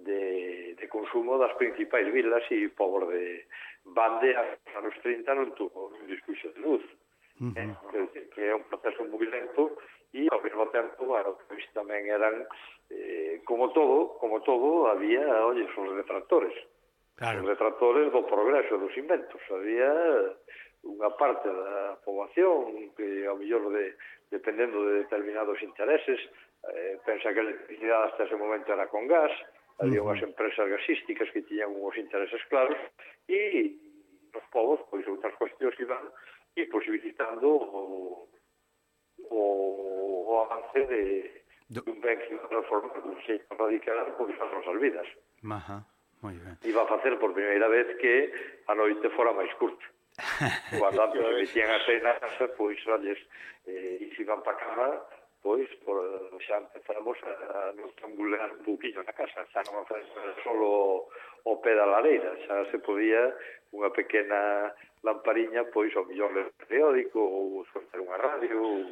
de, de consumo das principais vilas e pobos de Bande, aos anos trinta non tuvo un discurso de luz. Uh -huh. eh, que é un proceso moi lento e ao mesmo tempo, bueno, pois tamén eran eh, como todo, como todo había, oye, os detractores. Claro. Os detractores do progreso dos inventos. Había unha parte da poboación que ao mellor de, dependendo de determinados intereses eh, pensa que a electricidade hasta ese momento era con gas, había Uh-huh. unhas empresas gasísticas que tiñan uns intereses claros e os povos, pois outras cuestións iban e posibilitando o, o, o avance de, de un ben que iba a transformar un xeito radical pois as nosas vidas. Ajá, moi ben. Iba a facer por primeira vez que a noite fora máis curta. Cando antes se metían a cena, pois, olles, eh, e se iban para cama, pois, por, xa empezamos a, a nos tambulear un pouquinho na casa, xa non a fazer solo o pé da lareira, xa se podía unha pequena lampariña, pois, ao millor ler periódico, ou escoitar unha radio, ou...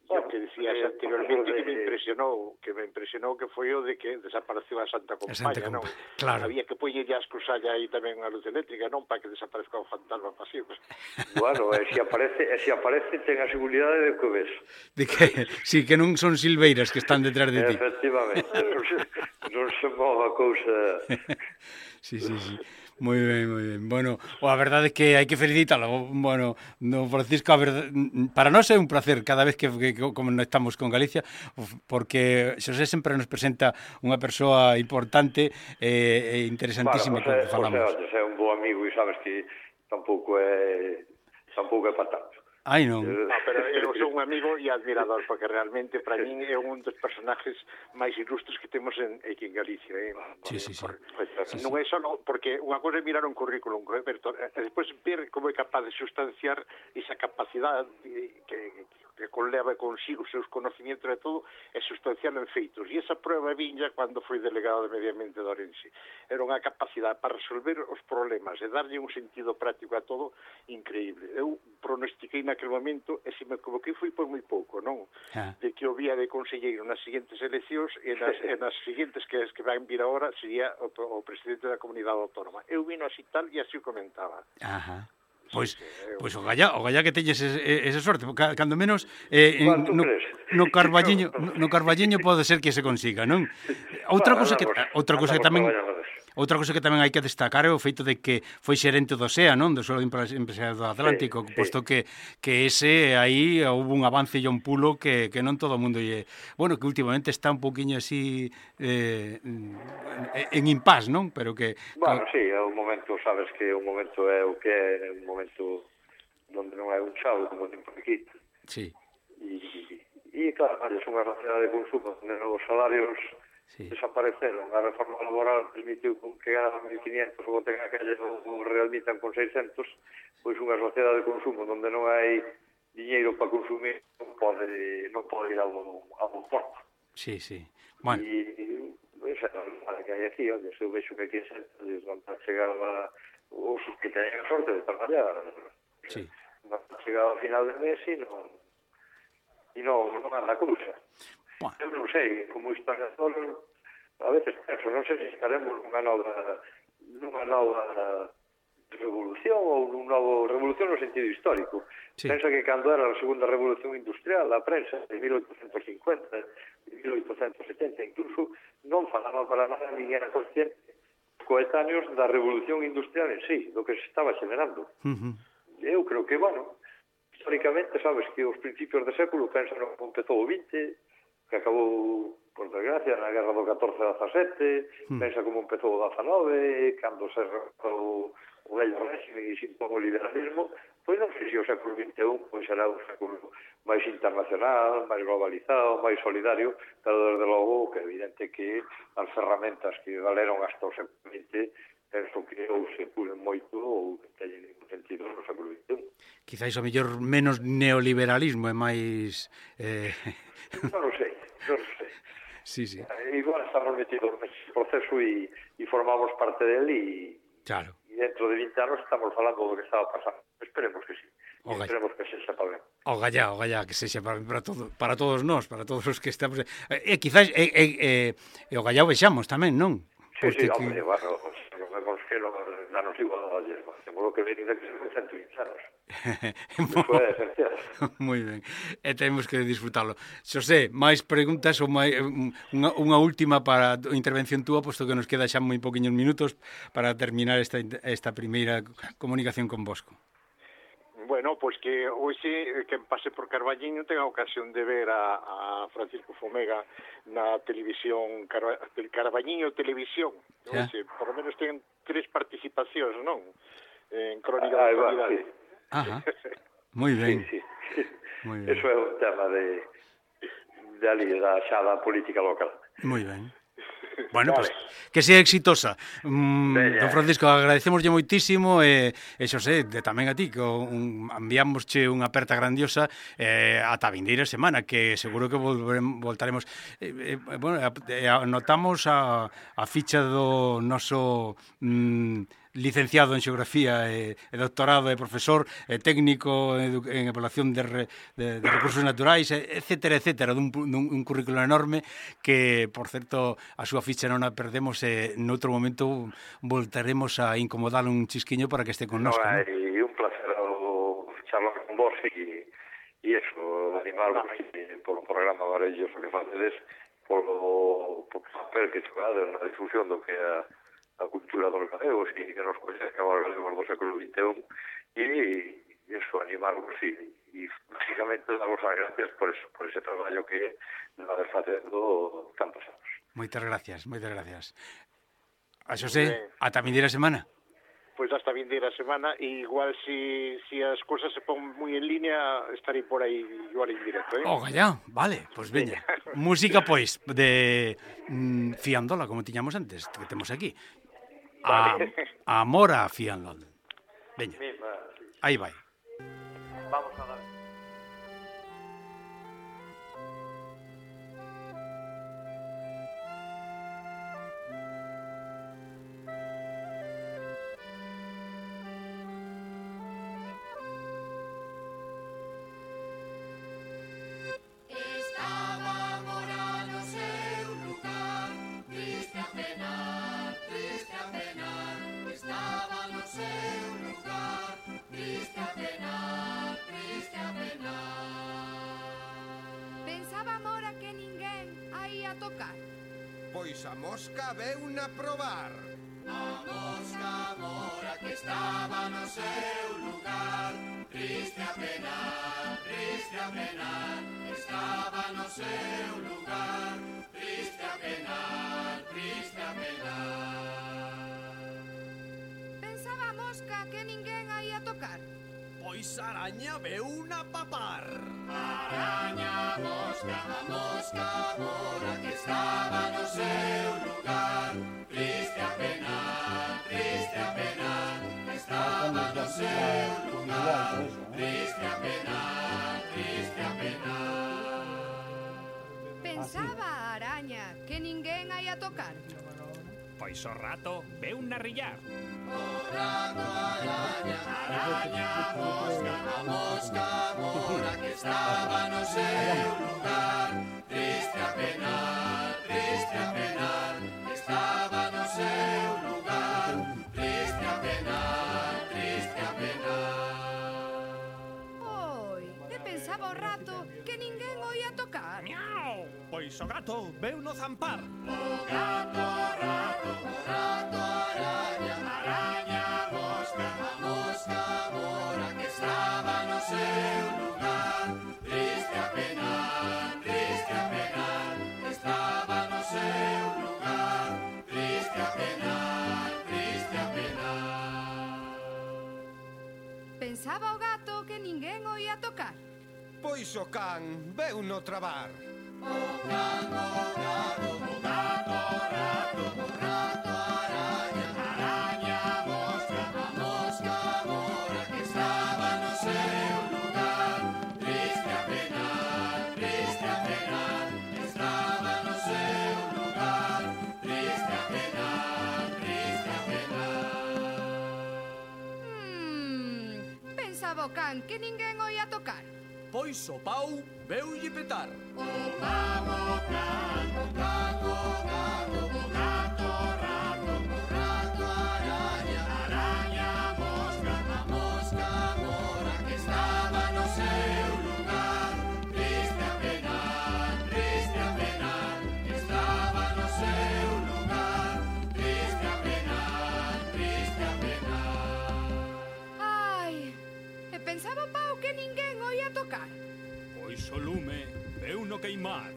O que decías eh, anteriormente de... que me impresionou, que me impresionou que foi o de que desapareceu a Santa Compaña, non? Claro. Había que poñerlle as cruzalla aí tamén a luz eléctrica, non para que desaparezca o fantasma pasivo. Bueno, e se aparece, e se aparece ten a seguridade de que o ves. De que, sí, que non son silveiras que están detrás de ti. Efectivamente, non se, non se mova a cousa... Sí, sí, sí. Moi ben, moi ben. Bueno, o a verdade é que hai que felicitalo. Bueno, no Francisco, a verdade, para nós é un placer cada vez que, que como estamos con Galicia, porque Xosé sempre nos presenta unha persoa importante e, e interesantísima bueno, que falamos. O sea, é un bo amigo e sabes que tampouco é tampouco é para tanto. Ai, non. No, pero eu sou un amigo e admirador, porque realmente para min é un dos personajes máis ilustres que temos en, aquí en Galicia. Eh? Sí, sí, sí. Por, sí, non sí. é só, porque unha cosa é mirar un currículum, eh, pero e despois ver como é capaz de sustanciar esa capacidade que, que, que conleva consigo os seus conocimientos e todo, e sustanciarlo en feitos. E esa prueba viña cando foi delegado de Medio Ambiente de Ourense. Era unha capacidade para resolver os problemas e darlle un sentido práctico a todo increíble. Eu pronostiquei naquele momento e se me equivoquei foi por moi pouco, non? Ah. De que o vía de conselleiro nas seguintes eleccións e nas, e nas seguintes que, que van vir agora sería o, o presidente da comunidade autónoma. Eu vino así tal e así o comentaba. Ajá. Pois, pois o galla, o galla que teñes ese, ese sorte, cando menos eh, Bueno, no, no Carballiño, no, no Carballiño pode ser que se consiga, non? Outra cousa que outra cousa que tamén Outra cousa que tamén hai que destacar é o feito de que foi xerente do S E A, non? Do Solo Empresariado do Atlántico, sí, posto sí. que que ese aí houve un avance e un pulo que, que non todo o mundo lle... Bueno, que últimamente está un poquinho así eh, en impás, non? Pero que... Bueno, sí, é un momento, sabes que o momento é o que é, un momento onde non hai un chavo como tempo aquí. Sí. E, e claro, é unha sociedade de consumo onde os salarios sí. desapareceron. A reforma laboral permitiu que ganaban mil quinientos ou ten aqueles ou realmitan con seiscentos, pois unha sociedade de consumo onde non hai diñeiro para consumir non pode, non pode ir ao, ao porto. Sí, sí. Bueno. E esa é a que hai aquí, onde eu vexo que aquí se van a chegar a, os que teñen a sorte de traballar. Sí. Van a chegar ao final de mes e non, e non, non anda a cousa. Bueno. Eu non sei, como historiador, a veces penso, non sei se estaremos nunha nova, nunha nova revolución ou nun novo revolución no sentido histórico. Sí. Pensa que cando era a segunda revolución industrial, a prensa de mil oitocentos cincuenta, de mil oitocentos setenta, incluso non falaba para nada, nin era consciente coetáneos da revolución industrial en sí, do que se estaba generando. Uh-huh. Eu creo que, bueno, históricamente, sabes que os principios de século pensan como empezou o vinte, que acabou, por desgracia, na guerra do catorce a dezasete, mm. pensa como empezou o dezanove, cando se recortou o vello régimen e se impón o liberalismo, pois non sei se o século vinte e un pois será un século máis internacional, máis globalizado, máis solidario, pero desde logo que é evidente que as ferramentas que valeron hasta o século vinte penso que ou se pulen moito ou que teñen ningún sentido no século vinte e un. Quizáis o mellor menos neoliberalismo e máis... Eh... Non sei, non sei. Sí, sí. Igual estamos metidos nese proceso e, e formamos parte del e, claro. E dentro de vinte anos estamos falando do que estaba pasando. Esperemos que sí. Esperemos que se sepa ben. O gallá, o gallá, que se sepa ben para, todo, para todos nós, para todos os que estamos... E eh, quizás e, e, e, e o gallá o vexamos tamén, non? Sí, Porque sí, hombre, que... bueno, non vemos que non danos igual a ayer, temos que ver de que se cento vinte anos. Foi esencial. Moi ben, e temos que disfrutarlo. Xosé, máis preguntas ou máis, unha, unha última para a intervención túa, posto que nos queda xa moi poquinhos minutos para terminar esta, esta primeira comunicación con Bosco. Bueno, pois que hoxe quen pase por Carballiño ten a ocasión de ver a, a Francisco Fomega na televisión, Carba, Carballiño Televisión. Yeah. Hoxe, por lo menos ten tres participacións, non? En Crónica Ah, da bueno, Actualidade. sí. Ajá. Moi ben. Sí, sí. Moi ben. Eso é un tema de, de ali, da xa da política local. Moi ben. Bueno, Vale. pues, que sea exitosa. Mm, Veña. don Francisco, agradecemoslle moitísimo e, e Xosé, de tamén a ti, que un, enviámosche unha aperta grandiosa eh, ata a vindeira semana, que seguro que volveremos, voltaremos. Eh, eh, bueno, eh, anotamos a, a ficha do noso mm, licenciado en Xeografía e, e doctorado e profesor e técnico en, en evaluación de, re, de, de recursos naturais, etcétera, etcétera, dun, dun un currículo enorme que, por certo, a súa ficha non a perdemos e noutro momento voltaremos a incomodalo un chisquiño para que este con No, nosco. é ¿no? un placer o charlar con vos e, e eso, animarvos eh, polo programa maravilloso que facedes, polo, polo papel que xogades na difusión do que é a a cultura dos galegos e que nos coñezca os galegos do século vinte e un e eso, animarvos e, e básicamente daros as gracias por, eso, por ese traballo que vades facendo tantos anos. Moitas gracias, moitas gracias. A Xosé, ata a vindeira semana. Pois hasta a vindeira semana e igual si, si as cousas se pon moi en línea estarei por aí igual en directo, eh? Oh, gallá, vale, pois pues veña. Música, pois, de mm, Fiandola, como tiñamos antes, que temos aquí. A, a Amor a Fianlón. Veña, aí vai. Vamos a dar. Pois a mosca veu na probar. A mosca mora que estaba no seu lugar, triste a penar, triste a penar, estaba no seu lugar, triste a penar, triste a penar. Pensaba a mosca que ninguén a ia tocar. Pois a araña veu na papar. Araña, mosca, a mosca mora que estaba no seu lugar, triste a penar, triste a penar, estaba no seu lugar, triste a penar, triste a penar. Pensaba a araña que ninguén a ia tocar. Pois o rato veu na rillar. O rato araña, araña, mosca, a mosca mora que estaba no seu lugar, triste a penar, triste a penar, estaba no seu lugar, triste a penar, triste a penar. Oi, e pensaba o rato que ninguén o ia tocar. Miau! Pois o gato veu no zampar. O gato, o rato, o rato, araña, araña, mosca, a mosca mora que estaba no seu lugar, triste a penar, triste a penar, estaba no seu lugar, triste a penar, triste a penar. Pensaba o gato que ninguén o ia tocar. Pois o can veu no trabar. O can, o gato, o gato, o rato, o rato, araña, araña, mosca, a mosca mora que estaba no seu lugar, triste a penar, triste a penar, estaba no seu lugar, triste a penar, triste a penar. Hmm, pensaba o can que ninguén o ia tocar. Pois o pau veulle petar. O can, o can, o can, o gato, o gato, o rato, o rato, araña, araña, mosca, a mosca mora que estaba no seu lugar, triste a penar, triste a penar, estaba no seu lugar, triste a penar, triste a penar. Ai, e pensaba tocar? Pois o lume veu no queimar.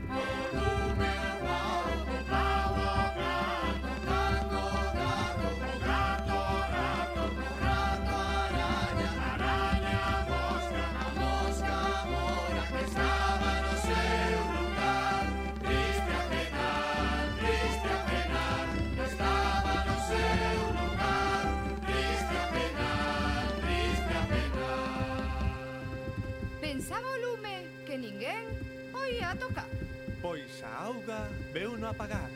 O lume, o pau, o pau, o gato, gato, gato, o gato, rato, o rato, araña, araña, mosca, a mosca, mora, que estaba no seu lugar. Triste a penar, triste a penar, que estaba no seu lugar. Triste a penar, triste a penar. Pensaba o lume que ninguén o ia a tocar. Pois a auga veu no apagar.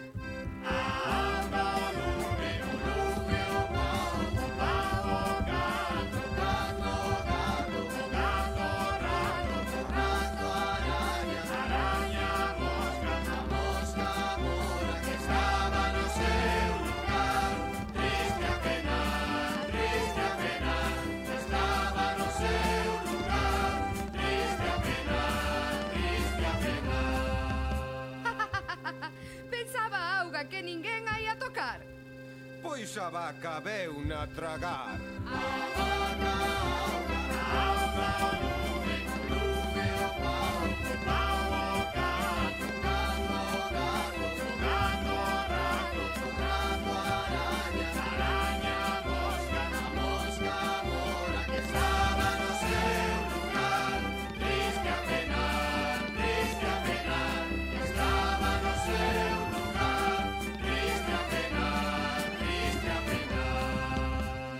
A auga, o lume, o lume, o pau, o pau, o gato, gato, gato, o gato, rato, o rato, araña, araña, mosca, a mosca, mora, que estaba no seu lugar. Triste a penar, triste a penar, que estaba no seu lugar. Triste a penar, triste a penar. Pensaba a auga que ninguén a ia a tocar. Pois a vaca veu na tragar.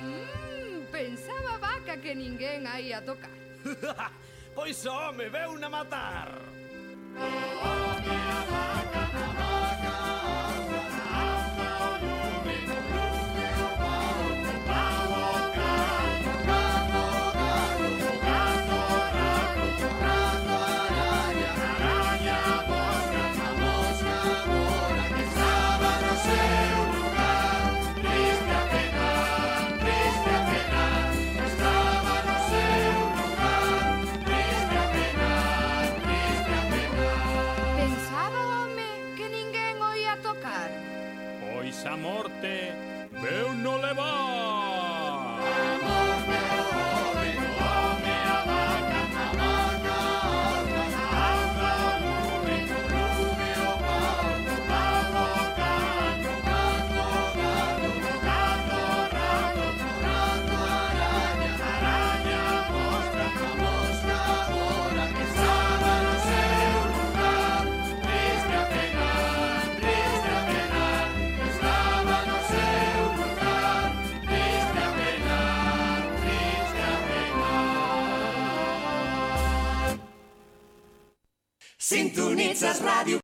Mm, pensaba a vaca que ninguén a ia a tocar. Pois o home veu na matar. Pensaba o home que ninguén o ia a tocar. Pois a morte veu no levar. Sintonitzes ràdio